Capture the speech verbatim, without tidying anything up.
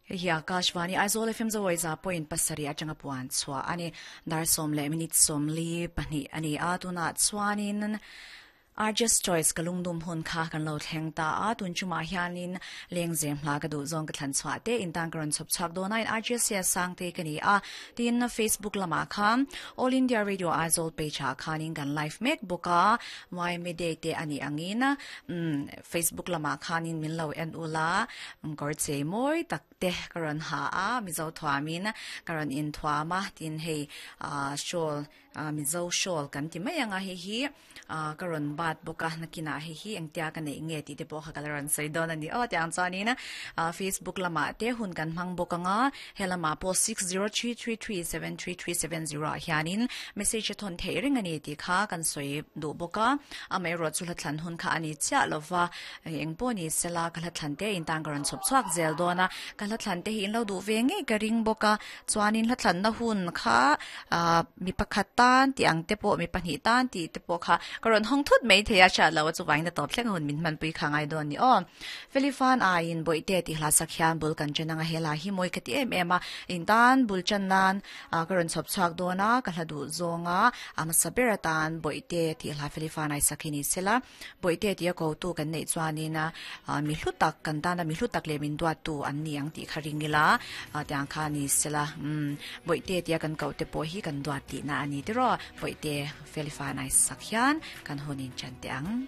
Hei hi Akashvani Aizawl F M Zawi za point pasarih atanga puan chhuah a ni. Dar sawm leh minute sawmli pahnih a ni a, tunah chuanin Arjus Choice ka lungdum hun kha kan lo thleng ta a, tun chumah hianin lengzem hla ka duh zawng ka thlan chhuah te intan ka rawn chhawp chhuak dawn a, in Arjus sia sang te ka ni a, tin Facebook lamah khan All India Radio Aizawl page ah khanin kan live mek bawk a, Y M A Day te a nih angin Facebook lamah khanin min lo en ula, kawr chei mawi tak te ka rawn ha a, Mizo thuamin ka rawn in thuam a, tin hei shawl Mizo shawl kan ti mai anga hei hi ka rawn bat bawk a, nakinah hei hi engtia ka neih nge tih te pawh kha ka la rawn sawi dawn a ni aw tiang chuanin Facebook lamah te hun kan hmang bawk anga, he lamah pawh six zero three three three seven three three seven zero ah hianin message a thawn theih reng a ni tih kha kan sawi duh bawk a, amaherawh chu hla thlan hun kha a ni chiah lova, eng pawh ni sela ka hla thlan te intan ka rawn chhawp chhuak zel dawn a, ka hla thlan te hi in lo duh ve ngei ka ring bawk a, chuanin hla thlanna hun kha mi pakhat tan tih ang te pawh mi pahnih tan tih te pawh kha ka rawn hawng thut mai thei a hriat lo a chuvain a tawp thleng hun min hmanpui kha ngai dawn ni aw. Felifan aiin bawihte tih hla sak hian bul kan chen anga hela hi mawi ka ti em em a, intan bul chan nan ka rawn chhawp chhuak dawn a, ka hla duh zawnga a hmasa ber atan bawihte tih hla Felifan ai sak hi ni sela, bawihte tih a ko tu kan neih chuanin mi hlu tak kan tana mi hlu tak leh min duat tu an ni ang tih kha ring ila tiang kha ni sela, bawihte tih a kan ko te pawh hi kan duat tih na a ni tiraw, bawihte Felifan ai sak hian kan hunin chan te ang.